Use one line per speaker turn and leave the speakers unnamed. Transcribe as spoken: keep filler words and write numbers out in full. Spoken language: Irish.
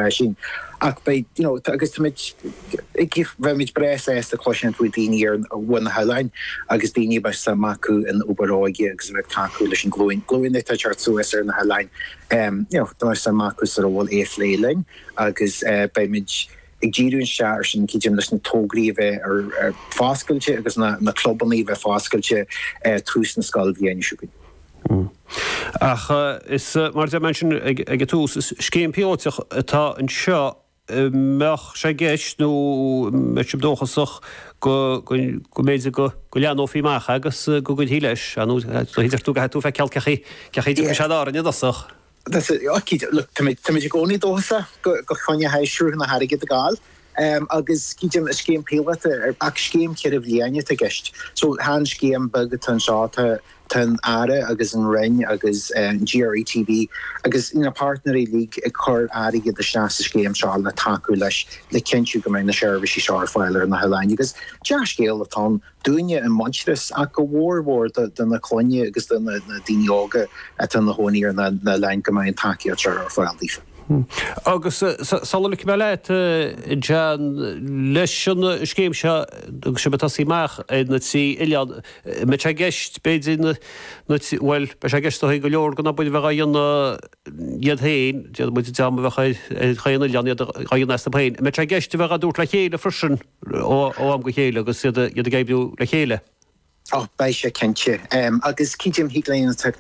Sin ach beidh you know, agus táimid beimid breá sásta cloisint faoi daoine ar bhun na hoileáin agus daoine beidh suim acu in obair óige agus bheith tacú leis an glúin glúin atá teacht suas ar na hoileáin um, you know, tá suim acu sa ról é phlé linn agus uh, beimid ag díriú isteach ar sin cinnte leis na tograí a bheith ar, ar foscailte agus na, na clubanna bheith foscailte uh, tús na scoilbhliana seo chugainn.
Mm. Ach is mar a dúirt mé ag ag tús is scéim píolótach atá anseo mbeadh sé i gceist nó mbeidh sibh dóchasach go go mb'fhéidir go go leathnófaí amach agus go gcuirfí leis nó tú go tú feiceáil cé cé sé árainn dosach.
Tá i gcónaí dóchasach go go choinne sruthanna na hairgid a fháil. Um, agus cídim scéim píolótach ach scéim ceithre bliana i gceist. So chan scéim beag atá anseo tá tá an Aire agus an Roinn agus um, GRETB agus na páirtnéirí uilig ag cur airgead isteach sa scéim seo le tacú leis le cinntiú go mbeidh na seirbhísí seo ar fáil ar na hoileáin agus dea-scéal atá ann dúinne i Muintearas ach go mhór mhór do na clainne agus do na daoine óga atá ina gcónaí ar na hoileáin go mbeidh an tacaíocht seo ar fáil daofa.
Agus sula ligfidh mé leat John leis an scéim seo agus sibh ag tosaí amach ar na trí oileán mbeidh sé i gceist b'fhéidir bhuel beidh sé i gceist go leor den obair a bheith á dhéanamh iad féin muid dream a bheith ar chaon oileán iad á dhéanamh astu féin. Mbeidh sé i gceist a bheith á dtabhairt le chéile freisin ó am go chéile agus iad ag oibriú le chéile.
Ó beidh sé cinnte agus cídim thig linn